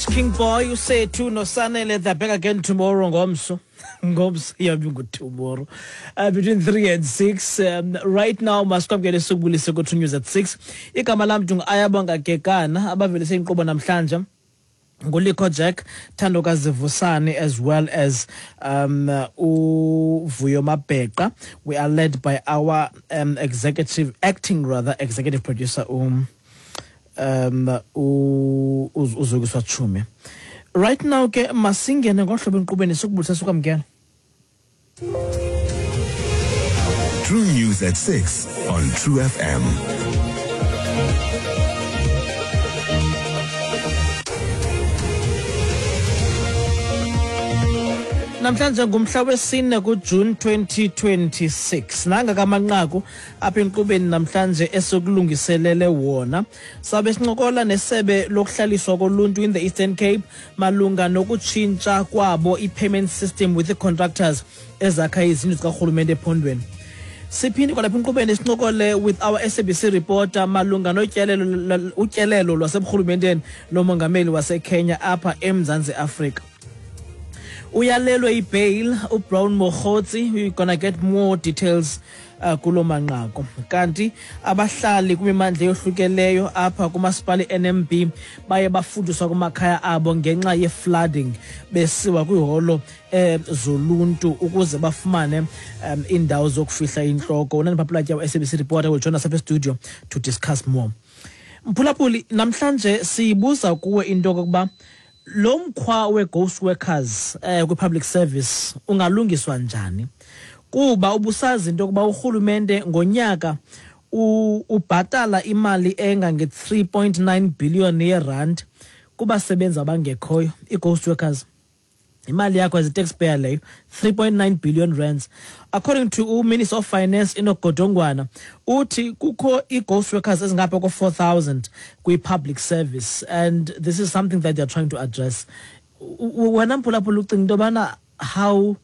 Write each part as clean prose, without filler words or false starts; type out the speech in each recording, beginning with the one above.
King Boy usethu noSanele, they're back again tomorrow, ngomso. Ngomso iyabe ingu-tomorrow between 3 and 6. Right now masikwamkele sikubulise ku-True News at 6. Igama lam ndingu-Ayabonga Gekana. Abavelise inkqubo namhlanje nguLikho Jack, Thandokazi Vusani, as well as uVuyo Mabheqa. We are led by our executive, acting rather, executive producer uZukiswa Chumi. Right now ke masingene ngohlobo enkqubeni, sikubulisa, sikwamkela. True News at 6 on True FM. Namhlanje ngumhla wesine kuJune 2026. Nanga kamanqaku apha enkqubeni namhlanje esikulungiselele wona. Sabe sincokola nesebe lokuhlaliswa koluntu in the Eastern Cape malunga nokutshintsha kwabo i-payment system with the contractors ezakha izindlu zikarhulumente ephondweni. Siphinde kwalapha enkqubeni sincokole with our SABC reporter malunga notyelelo, utyelelo lwaseburhulumenteni lomongameli waseKenya apha eMzantsi Afrika. Uyalelwe ibail uBrown Mogotsi. We're gonna get more details kulo manqaku. Kanti abahlali kwimimandla eyohlukeleyo apha kumasipala iNMB baye bafuduswa kumakhaya abo ngenxa ye-flooding, besiwa kwiholo zoluntu ukuze bafumane iindawo zokufihla intloko. UNandipha Platya, SABC reporter, will join us apha studio to discuss more. Mphulaphuli, namhlanje siyibuza kuwe into yokokuba lo mkhwa we-ghost workers kwi-public service ungalungiswa njani, kuba ubusazi into yokuba urhulumente ngonyaka ubhatala imali engange-3.9 billion yerand kubasebenzi abangekhoyo, ii-ghost workers. Imali yakho as a taxpayer leyo, 3.9 billion rands. According to uMinister of Finance Enoch Godongwana, uthi kukho ii-ghost workers ezingapha ko-4000 kwi-public service, and this is something that they're trying to address. Wena mphulaphula, ucinga into yobana how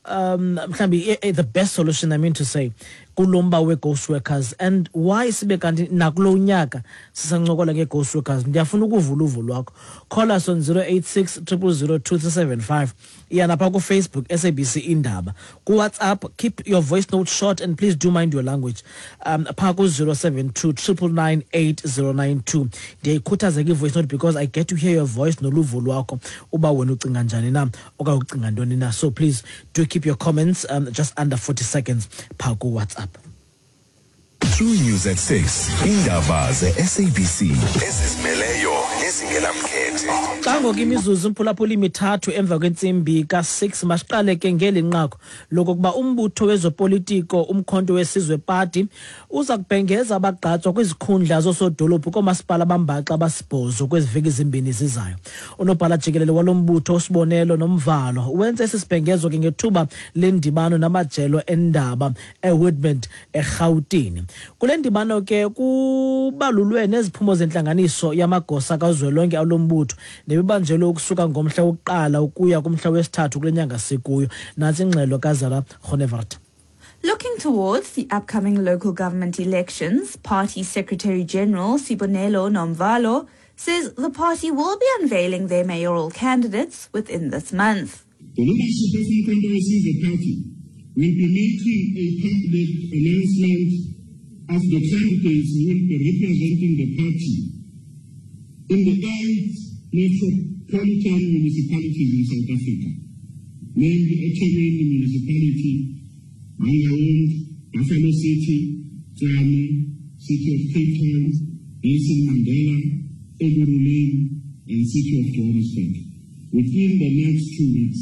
mhlawumbi the best solution, I mean to say, kulo mba we-ghost workers, and why sibe kanti nakulo nyaka sisancokola nge-ghost workers? Ndiyafuna ukuva uluvo lwakho. Call us on 086 000 2375. Iya napha kuFacebook, SABC Indaba. KuWhatsApp, keep your voice note short and please do mind your language, phaa ku-072 999 8092. Ndiyayikhuthaza ke i-voice note because I get to hear your voice noluvo lwakho, uba wena ucinga njani na okanye ucinga ntoni na. So please do keep your comments just under 40 seconds phaa kuWhatsApp. True News at 6. Indaba ze-SABC ezizimeleyo nezingenamkhethe. Xa ngoku imizuzu, mphulaphula, 3 emva kwentsimbi ka-6, masiqale ke ngeli nqaku lokokuba umbutho wezopolitiko uMkhonto weSizwe Party uza kubhengeza abagqatswa kwizikhundla zoosodolophu koomasipala abambaxa abasibhozo kwezi veki 2 zizayo. Unobhala jikelele walo mbutho uSibonelo Nomvalo wenze esi sibhengezo ke ngethuba lendibano namajelo endaba eWoodmont eRhawutini. Kule ndibano ke kubalulwe neziphumo zentlanganiso yamagosa kazwelonke alo mbutho nebibanjelwe ukusuka ngomhla wokuqala ukuya kumhla wesithathu kule nyanga sikuyo. Nantsi ingxelo kaZara Honevart. Looking towards the upcoming local government elections, Party Secretary General Sibonelo Nomvalo says the party will be unveiling their mayoral candidates within this month. The leadership of Umkhonto weSizwe Party will be making a public announcement of the candidates who will be representing the party in the 8 metropolitan municipalities in South Africa, namely eThekwini Municipality, Mangaung, Buffalo City, Tshwane, City of Cape Town, Nelson Mandela, Ekurhuleni, and City of Johannesburg within the next 2 weeks.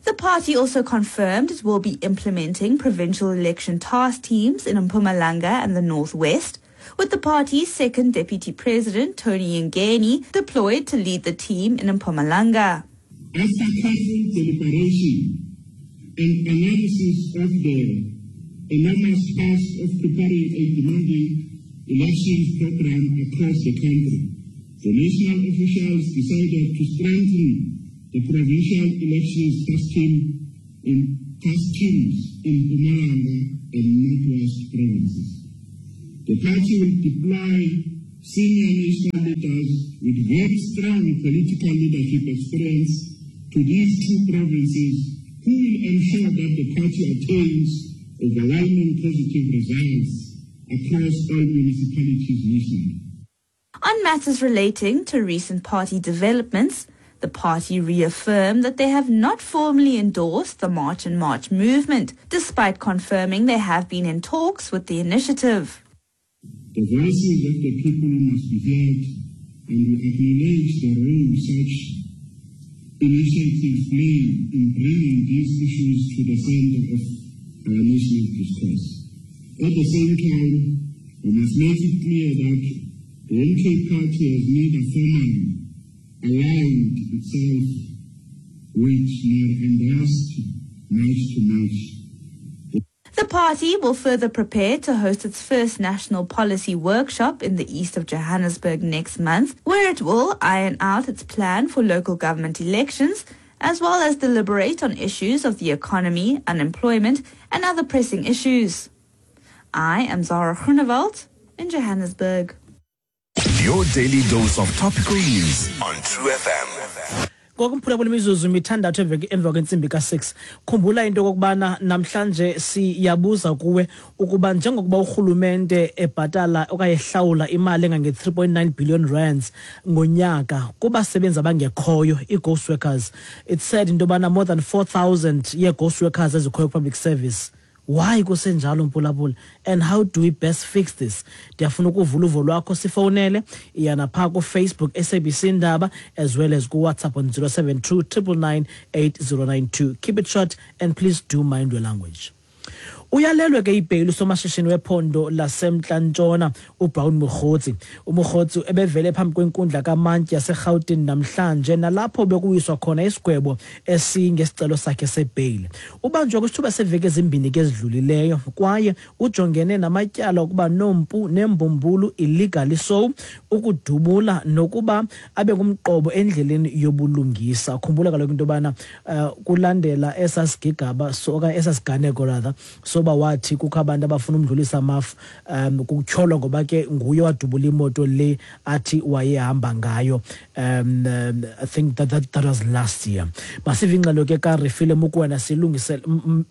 The party also confirmed it will be implementing provincial election task teams in Mpumalanga and the Northwest, with the party's second deputy president, Tony Yengeni, deployed to lead the team in Mpumalanga. After careful deliberation and analysis of the enormous task of preparing a demanding elections program across the country, the national officials decided to strengthen the provincial elections task teams in Mpumalanga and Northwest provinces. The party will deploy senior national leaders with very strong political leadership experience to these two provinces who will ensure that the party attains overwhelming positive results across all municipalities nationally. On matters relating to recent party developments, the party reaffirmed that they have not formally endorsed the March and March movement, despite confirming they have been in talks with the initiative. The voices of the people must be heard, and we acknowledge the role such initiatives play in bringing these issues to the center of our national discourse. At the same time, we must make it clear that the MK Party has neither formally aligned itself with nor endorsed March to March. The party will further prepare to host its first national policy workshop in the east of Johannesburg next month, where it will iron out its plan for local government elections, as well as deliberate on issues of the economy, unemployment, and other pressing issues. I am Zara Groenewald in Johannesburg. Your daily dose of topical news on True FM. Ngoku mphulaphula, imizuzu mithandathu emva kwentsimbi ka-6. Khumbula into okokubana namhlanje siyabuza kuwe ukuba njengokuba urhulumente ebhatala okanye ehlawula imali engange-3.9 billion rands ngonyaka kubasebenzi abangekhoyo, ii-ghost workers, it's said into yobana more than 4000 yee-ghost workers ezikhoyo public service. Why kusenjalo, mphulaphula, and how do we best fix this? Ndiyafuna ukuvula uvo lwakho. Sifowunele, iyana phaa kuFacebook SABC Indaba, as well as kuWhatsApp on 072 999 8092. Keep it short and please do mind your language. Uyalelwe ke ibheyili usomashishini wephondo laseMntla-Ntshona uBrown Mogotsi. UMogotsi ebevele phambi kwenkundla kamantyi yaseRhawutini namhlanje, nalapho bekuwiswa khona isigwebo esingesicelo sakhe sebheyili. Ubanjwe kwisithuba seveki ezimbini ke ezidlulileyo, kwaye ujongene namatyala okuba nompu nembumbulu, illegally so, ukudubula nokuba abe ngumqobo endleleni yobulungisa. Khumbula kaloku into yobana kulandela esasigigaba so okanye esasiganeko rather soba wathi kukho abantu abafuna umdlulisa amafu, kutyholwa ngoba ke nguye wadubula imoto le athi wayehamba ngayo. I think that was last year. Masive ingxelo ke kaRefile Mokoena, silungisele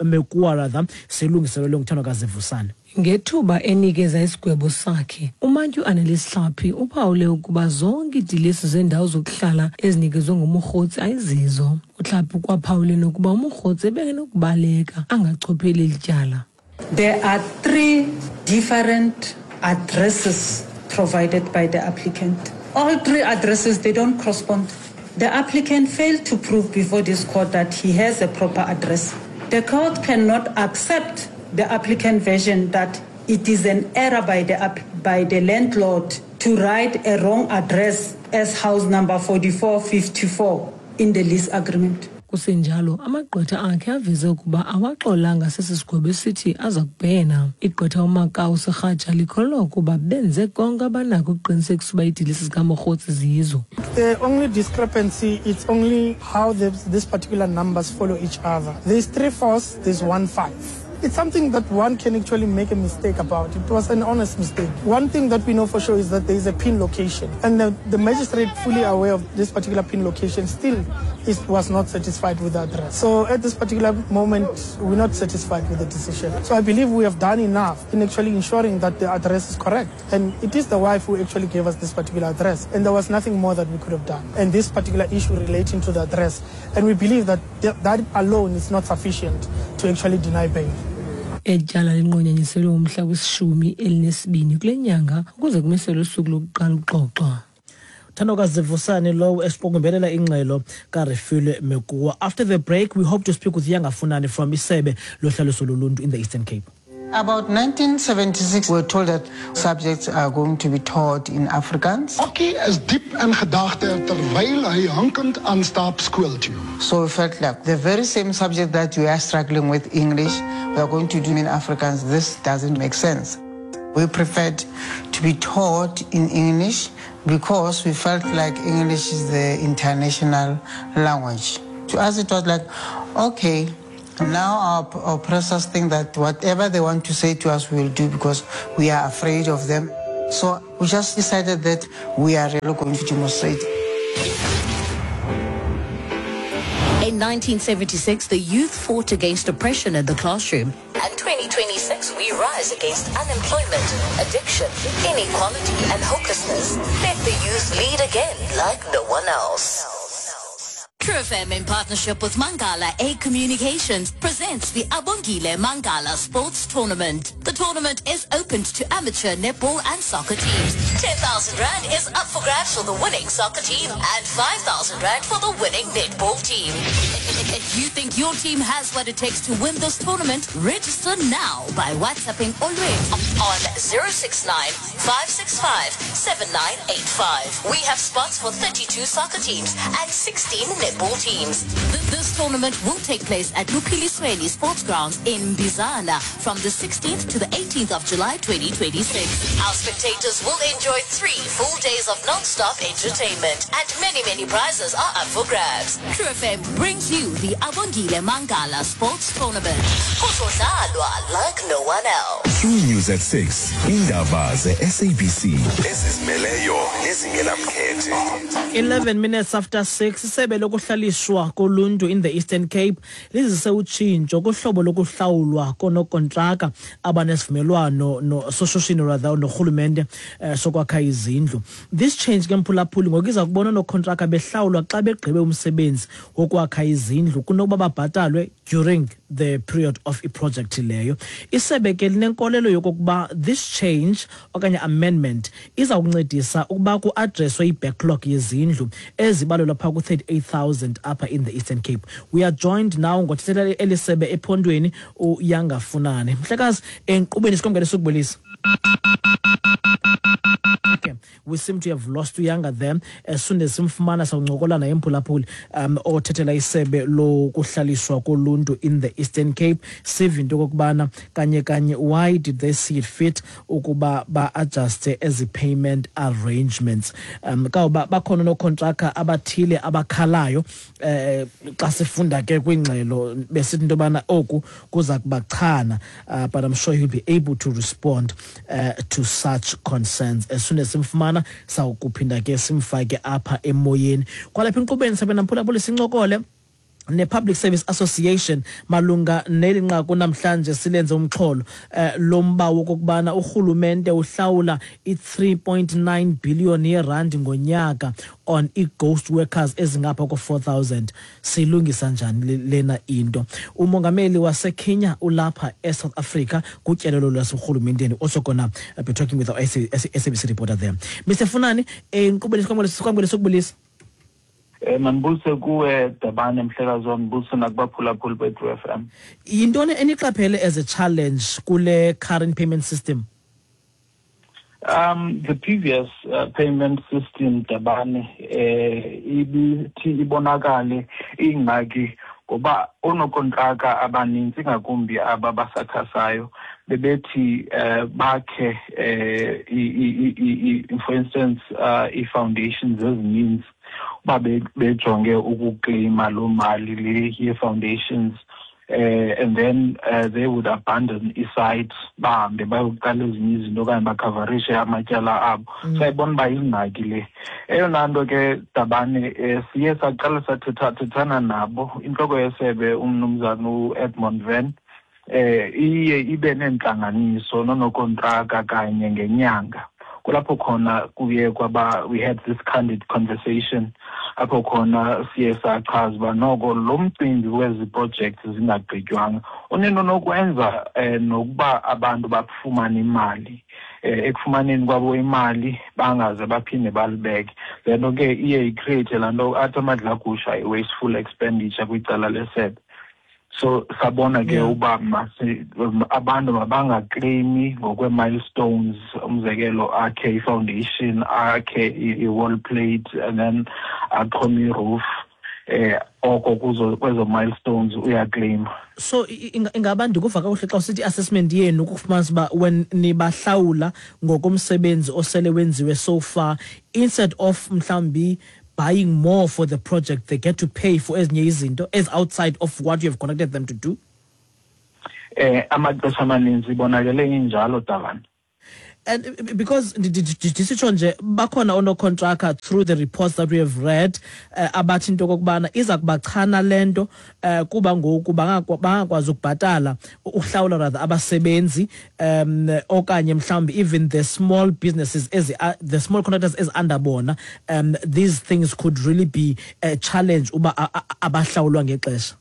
Mekua rather, silungiselelwe nguthandwa kaZivusane. Ngethuba enikeza isigwebo sakhe, umantyi uAnnelisi Hlaphi uphawule ukuba zonke iidilesi zendawo zokuhlala ezinikezwe nguMogotsi ayizizo. UHlaphi ukwaphawule nokuba uMogotsi ebengenokubaleka angachopheli eli tyala. There are three different addresses provided by the applicant. All three addresses, they don't correspond. The applicant failed to prove before this court that he has a proper address. The court cannot accept the applicant version that it is an error by the landlord to write a wrong address as house number 4454 in the lease agreement. Kusenjalo, amagqwetha akhe aveze ukuba awaxolanga sesi sigwebo, esithi aza kubhena. Igqwetha uMakau Segatja likholelwa ukuba benze konke abanako ukuqinisekisa uba iidilesi zikaMogotsi zizo. The only discrepancy is only how this particular numbers follow each other. There's three fours, there's 15. It's something that one can actually make a mistake about. It was an honest mistake. One thing that we know for sure is that there is a pin location. And the magistrate, fully aware of this particular pin location, still was not satisfied with the address. So at this particular moment, we're not satisfied with the decision. So I believe we have done enough in actually ensuring that the address is correct. And it is the wife who actually gave us this particular address. And there was nothing more that we could have done. And this particular issue relating to the address. And we believe that that alone is not sufficient to actually deny bail. Eli tyala linqunyanyiselwe umhla wesi-12 kule nyanga ukuze kumiselwe usuku lokuqala ukuxoxwa. Thandokazi Vusani lowo esiqukumbelela ingxelo kaRefilwe Mekua. After the break, we hope to speak with Yanga Funani from Isebe Lohlaliso Loluntu in the Eastern Cape. About 1976, we were told that subjects are going to be taught in Afrikaans. Okkie is diep in gedagte terwyl hy hinkend aanstap skool toe. So we felt like the very same subject that we are struggling with, English, we are going to do in Afrikaans. This doesn't make sense. We preferred to be taught in English because we felt like English is the international language. To us, it was like, okay, now our oppressors think that whatever they want to say to us, we will do because we are afraid of them. So we just decided that we are really going to demonstrate. In 1976, the youth fought against oppression in the classroom. And 2026, we rise against unemployment, addiction, inequality, and hopelessness. Let the youth lead again like no one else. True FM in partnership with Mangala A Communications presents the Abongile Mangala Sports Tournament. The tournament is open to amateur netball and soccer teams. 10,000 Rand is up for grabs for the winning soccer team and 5,000 Rand for the winning netball team. If you think your team has what it takes to win this tournament, register now by WhatsApping Olwethu on 069 565 7985. We have spots for 32 soccer teams and 16 netball teams. This tournament will take place at Lupilisweni Sports Grounds in Bizana from the 16th to the 18th of July 2026. Our spectators will enjoy three full days of non-stop entertainment and many, many prizes are up for grabs. True FM brings you the Abongile Mangala Sports Tournament. Kuzodlalwa like no one else. True News at 6. Indaba ze-SABC ezizimeleyo nezingenamkhethe. 11 minutes after 6 isebe lokuhlaliswa koluntu in the Eastern Cape lizise utshintsho kuhlobo lokuhlawulwa konokontraka abanesivumelwano no soshishino rather norhulumente sokwakha izindlu. This change ke mphulaphuli ngoku iza kubona oonokontraka behlawulwa xa begqibe umsebenzi wokwakha izindlu kunokuba babhatalwe during the period of iprojekthi leyo. Isebe ke linenkolelo yokokuba this change okanye amendment iza kuncedisa ukuba kuadreswe i-backlog yezindlu ezibalelwa phaa ku-38,000 apha in the Eastern Cape. We are joined now ngothethela eli sebe ephondweni uYanga Funane. Mhlekazi, enkqubeni sikwamkele sukubulisa. Okay, we seem to have lost uYanga there. As soon as simfumana sawuncokola naye mphulaphuli othethela isebe lokuhlaliswa koluntu in the Eastern Cape. Sive into okokubana kanye kanye why did they see it fit ukuba ba-adjuste ezi payment arrangements. Kawuba bakhona nookontraka abathile abakhalayo xa sifunda ke kwingxelo besithi into yobana oku kuza kubachana, but I'm sure he'll be able to respond to such concerns. As soon as simfumana sawukuphinda ke simfake apha emoyeni. Kwalapha enkqubeni sabe namphulaphuli sincokole ne-Public Service Association malunga neli nqaku namhlanje silenze umxholo lomba wokokubana urhulumente uhlawula i-3.9 billion yerandi ngonyaka on i-ghost workers ezingapha ko-4,000. Siyilungisa njani lena into? Umongameli waseKenya ulapha eSouth Africa kutyelelo lwaserhulumenteni. Also gonna be talking with our SABC reporter there. Mr. Funani, enkqubeni sikwamkele sokubulisa. Mandibulise kuwe Dabane mhlekazi wam, ndibulise nakubaphulaphuli beTru FM. Yintoni eniqaphele as a challenge kule current payment system? The previous payment system Dabane ibithi ibonakale ingxaki ngoba oonokontraka abanintsi ngakumbi aba basakhasayo bebethi bakhe for instance ii-foundations ezininzi uba bejonge ukukleyima loo mali le yee-foundations, and then they would abandon i-site bahambe bayokuqala ezinye izinto okanye bakhavarishe amatyala abo. Sayibona uba yingxaki le. Eyona nto ke Dabane, siye saqala sathethathethana nabo. Intloko yesebe umnumzana uEdmond Van iye ibe neentlanganiso nonokontraka kanye ngenyanga. Kulapho khona kuye kwaba we had this candid conversation apho khona siye sachaza uba noko lo mcimbi wezi projects zingagqitywanga unento nokwenza nokuba abantu bafumane imali, ekufumaneni kwabo imali bangaze baphinde balibeke. Le nto ke iye icreate laa nto athi amadlagusha i-wasteful expenditure kwicala lesebe. So sabona ke uba abantu mabangakleyimi ngokwe-milestones, umzekelo akhe i-foundation, akhe i-wall plate and then axhome i-roof, oko kwezo milestones uyakleyima. So ingaba ndikuva kakuhle xa usithi i-assessment yenu kukufumanisa uba when nibahlawula ngokomsebenzi osele wenziwe so far, instead of mhlawumbi buying more for the project, they get to pay for ezinye izinto as outside of what you have connected them to do? Amaxesha amaninzi ibonakele injalo, Dabane. And because ndisitsho nje bakhona onocontractor through the reports that we have read abathi into okokubana iza kubachana le nto kuba ngoku bangakwazi ukubhatala, ukuhlawula rather abasebenzi, okanye mhlawumbi even the small businesses ezi, the small contractors ezi-under bona, these things could really be a challenge uba abahlawulwa ngexesha.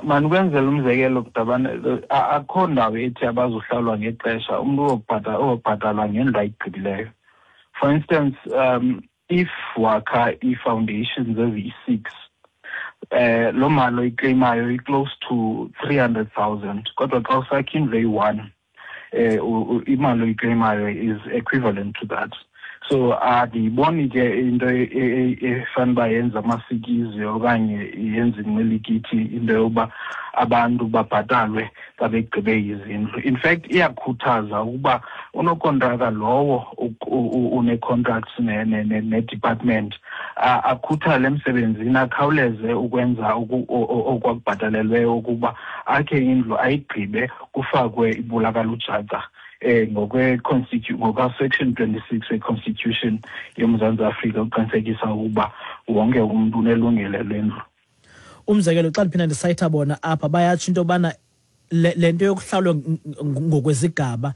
Mandikwenzele umzekelo, Dabane. Akho ndawo ethi abazohlawulwa ngexesha. Umntu uyobhatalwa ngendlu ayigqibileyo. For instance, if wakha ii-foundations eziyi-6, loo mali oyiclaimayo i-close to 300,000, kodwa xa usakha indlu eyi-1, imali oyiclaimayo is equivalent to that. So andiyiboni ke into efana uba yenza amasikizi okanye yenza inqilikithi into yokuba abantu babhatalwe xa begqibe izindlu. In fact, iyakhuthaza ukuba unokontraka lowo une-contracts ne-department akhuthale emsebenzini, akhawuleze ukwenza okwakubhatalelweyo ukuba akhe indlu ayigqibe, kufakwe ibulakalujaca ngokwa-section 26 we-Constitution yoMzantsi Afrika, uqinisekisa ukuba wonke umntu unelungelo lendlu. Umzekelo, xa ndiphinda ndisayitha bona apha, bayatsho into yobana le nto yokuhlawulwa ngokwezigaba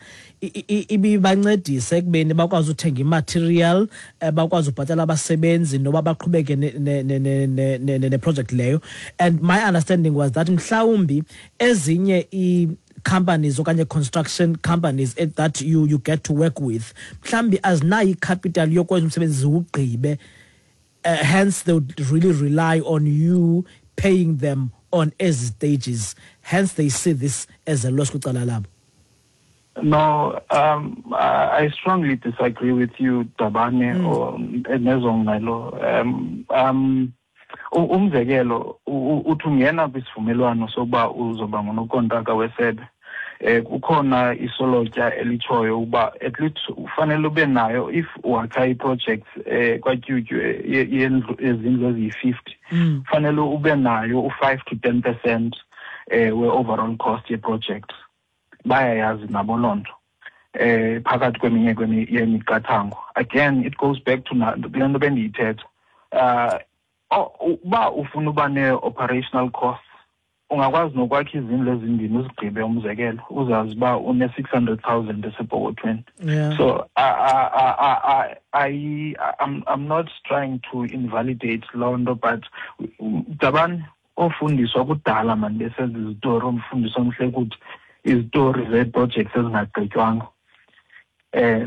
ibibancedisa ekubeni bakwazi uthenga imaterial, bakwazi ubhatala abasebenzi noba baqhubeke neproject leyo. And my understanding was that mhlawumbi ezinye companies okanye construction companies that you get to work with mhlawumbi azinayo icapital yokwenza umsebenzi ziwugqibe, hence they would really rely on you paying them on ezi stages, hence they see this as a loss kwicala labo. No, I strongly disagree with you, Dabane, or nezongxelo. Umzekelo, uthi ungena kwisivumelwano sokuba uzoba ngunokontraka wesebe, kukhona isolotya elitshoyo ukuba at least ufanele ube nayo, if wakha i-projects kwaTyutyu yendlu, ezindlu eziyi-50, fanele ube nayo u-5 to 10% we-overall cost ye-project. Bayayazi nabo loo nto, phakathi kweminye yemiqathango. Again, it goes back to kule nto bendiyithetha, uba ufuna uba nee-operational costs, ungakwazi nokwakha izindlu ezimbini uzigqibe, umzekelo, uzazi uba une-600,000 esepokothweni. So I'm not trying to invalidate loo nto, but Dabane, ofundiswa kudala mani besenza izitori, umfundisi omhle kuthi izitori zee-projects ezingagqitywanga,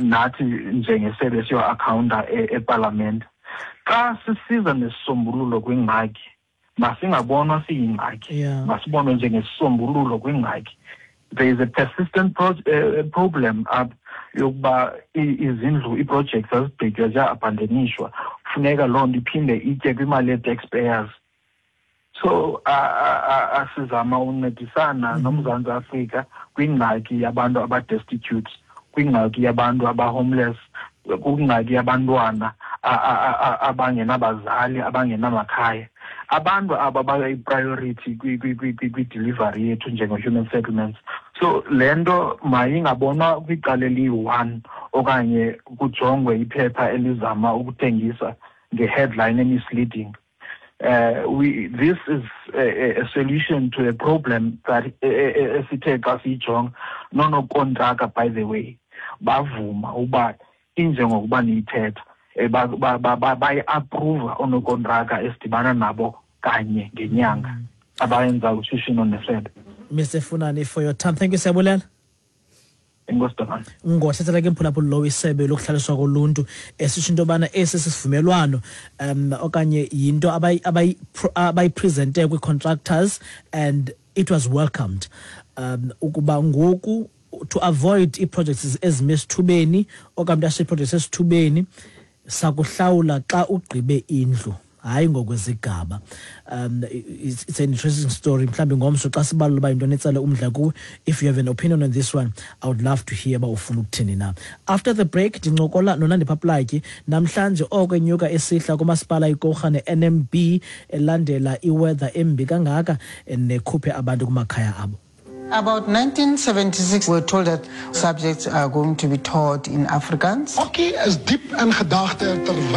nathi njengesebe siyo-accounta epalamente. Xa sisiza nesisombululo kwingxaki, masingabonwa siyingxaki, masibonwe njengesisombululo kwingxaki. There is a persistent problem up yokuba izindlu, ii-projects azigqitywa, ziya-abandonishwa. Funeka loo nto iphinde itye kwimali yee-taxpayers. So asizama uncedisana noMzantsi Afrika kwingxaki yabantu aba-destitute, kwingxaki yabantu aba-homeless, kwingxaki yabantwana abangenabazali, abangenamakhaya. Abantu aba bayi-priority kwi-delivery yethu njenge-human settlements. So le nto mayingabonwa kwicala eliyi-one okanye kujongwe iphepha elizama ukuthengisa nge-headline emisleading. This is a solution to a problem that esithe xa siyijonga nonokontraka, by the way, bavuma uba injengokuba niyithetha, bayi-approva oonokontraka esidibana nabo kanye ngenyanga abayenza ushishino nesebe. Mr Funani, for your time, thank you, siyabulela. Enkosi, Dabane. Ngothethela ke mphulaphuli lowo isebe lokuhlaliswa koluntu, esisho into yobana esi sisivumelwano okanye yinto abayipresente kwii-contractors, and it was welcomed, ukuba ngoku to avoid ii-projects ezime esithubeni okanye ashiye ii-projects esithubeni, sakuhlawula xa ugqibe indlu, hayi ngokwezigaba. It's an interesting story. Mhlawumbi ngomso xa sibalula uba yintoni etsale umdla kuwe. If you have an opinion on this one, I would love to hear uba ufuna ukuthini na. After the break, ndincokola noNandipha Plaatje namhlanje oko enyuka esihla kumasipala iKouga ne-NMB, elandela iweather embi kangaka nekhuphe abantu kumakhaya abo. About 1976, we were told that subjects are going to be taught in Afrikaans. Okkie is diep in gedagte terwyl